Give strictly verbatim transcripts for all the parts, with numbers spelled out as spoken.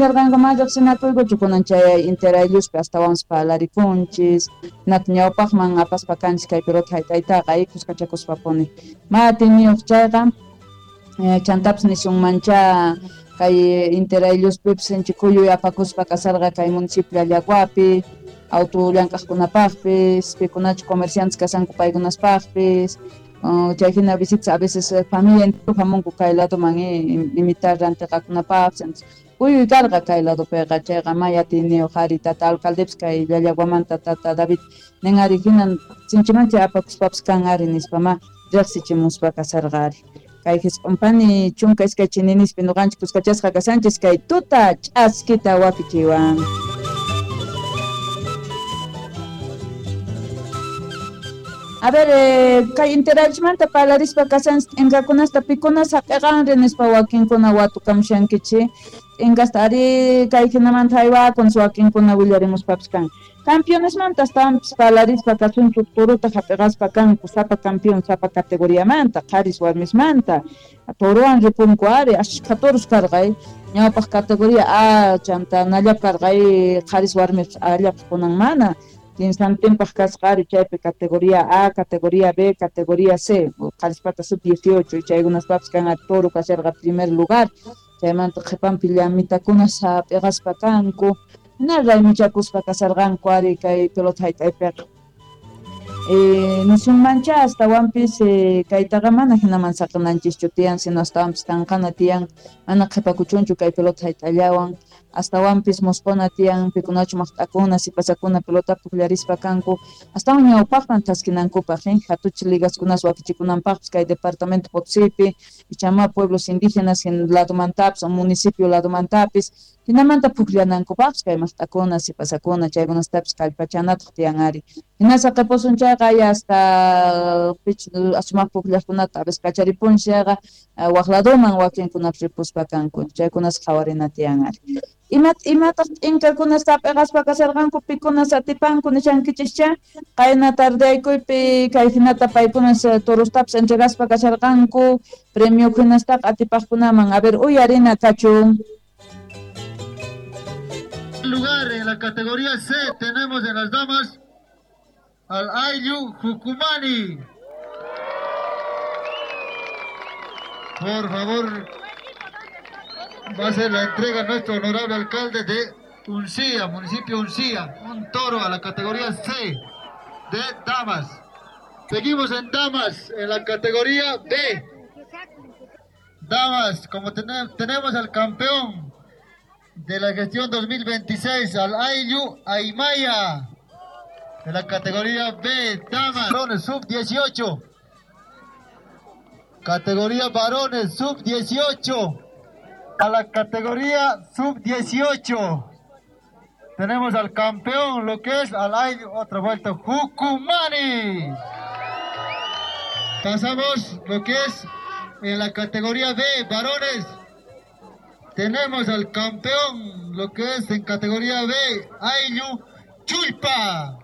Nisharqanku ma riqsinakuykuchu kunan chay interaylluspi astawanpas parlarikunchis, hinata ñawpaqman apaspa kanchis kay pelota hayt'aytaqa kuskachakuspapuni. Ma atiniyuq chayqa chantapis nisunmancha kay interaylluspipis sinchi kuyuy apakuspa kasarqa kay municipio Llallaguapi, auto llank'aqkunapaqpis, pikunachu comerciantes kasanku paykunaspaqpis, chay hina visitas a veces familia entero hamunku kay ladoman imitar rantiqakunapaqpis, kuyuy karqa kay ladopiqa chayqa may atiniyuq ari tata alcaldepis kay Llallaguamanta tata David nin ari hinan sinchimancha apakuspapis kan ari nispa ma riqsichimuspa kasarqa ari. Kay hisq'unpani chunka iskay chininispi nuqanchik kuskachasqa kasanchis kay tuta ch'askita wakichiwan. A ver, eh, kay interalchmanta parlarispa kasanchis t'inkakunasta pikunas hap'iqanri nispa wakinkuna watukamushankichik t'inkasta ari kay hinamanta haywakunas wakinkuna willarimuspapis kan. Campeonesmanta astawanpis parlarispa kasunchuk torota hap'iqaspa kanku sapa campeón sapa categoriamanta qharis warmismanta torowan ripunku ari ashkha toros karqa ñawpaq categoría A chanta nallap karqa qharis warmis allap kunan mana kinsantinpaq kasqa ari chaypi categoría A, categoría B, categoría C, qharispata sub dieciocho chaykunaspapis kan ari toro kasharqa primer lugar chaymanta qhipanpi llamitakunas hap'iqaspa kanku hina raymichakuspa kasarqanku ari kay pelota hayt'aypiqa. Eh, nisunmancha astawanpis eh, kaytaqa mana hinaman saqinanchischu tiyan sino astawanpis tanqana tiyan mana qhipakuchunchu kay pelota hayt'allawan astawanpis musquna tiyan pikunachu maqt'akuna sipasakuna pelota pukllarispa kanku astawan ñawpaqman thaskinankupaq eh, hatuchi ligaskunas wakichikunanpaqpis kay departamento Potosipi ichama pueblos indígenas ladomantapis o municipio ladomantapis hinamanta pukllanankupaqpis kay maqt'akuna sipasakuna chaykunastapis kallpachanataq tiyan ari. Hina saqipusun chayqa hasta pich asumaq pukllaqkunata a veces kacharipunchis chayqa waq ladoman wakinkunapis ripuspa kanku chaykunas qhawarina tiyan ari. Imat imataq t'inkakunas hap'iqaspa kasarqanku pikunas atipanku nishankichischa qayna tardeaykuypi kay hinata paykunas torostapis entregaspa kasharqanku premio hinastaqa atipaqkunaman. A ver, uyarina kachun. Lugar en la categoría C tenemos en las damas al Ayllu Jucumani. Por favor, va a ser la entrega nuestro honorable alcalde de Uncía, municipio Uncía, un toro a la categoría C de damas. Seguimos en damas, en la categoría B. Damas, como ten- tenemos al campeón de la gestión dos mil veintiséis, al Ayllu Aymaya, de la categoría B, damas, varones, sub dieciocho. Categoría varones, sub dieciocho. A la categoría sub dieciocho. Tenemos al campeón, lo que es al Ayllu, otra vuelta, Jucumani. Pasamos lo que es en la categoría B, varones. Tenemos al campeón, lo que es en categoría B, Ayllu Chulpa.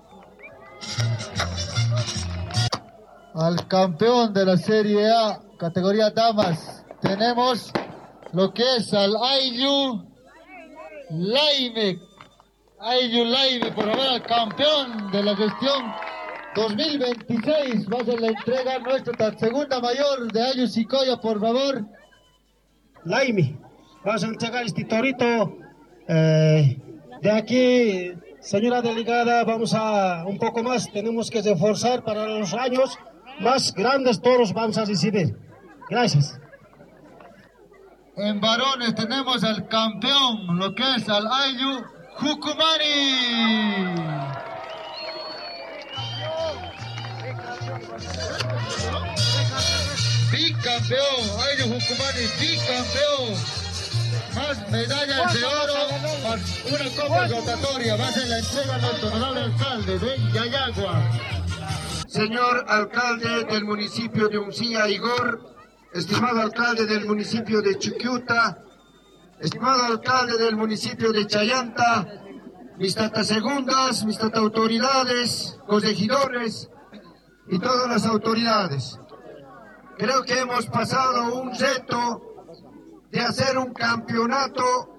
Al campeón de la Serie A, categoría damas, tenemos lo que es al Ayllu Laime. Ayllu Laime, por favor, al campeón de la gestión dos mil veintiséis. Va a ser la entrega nuestra segunda mayor de Ayllu Sicoya, por favor. Laime, vamos a entregar este torito. Eh, de aquí, señora delegada, vamos a un poco más, tenemos que reforzar para los años más grandes toros vamos a recibir. Gracias. En varones tenemos al campeón, lo que es al Ayllu Jucumani. Bicampeón, Ayllu Jucumani, bicampeón. Más medallas de oro, más una copa rotatoria. Va a ser la entrega a nuestro honorable alcalde de Llallagua. Señor alcalde del municipio de Uncía, Igor, estimado alcalde del municipio de Chiquiuta, estimado alcalde del municipio de Chayanta, mis tatas segundas, mis tata autoridades, corregidores y todas las autoridades. Creo que hemos pasado un reto de hacer un campeonato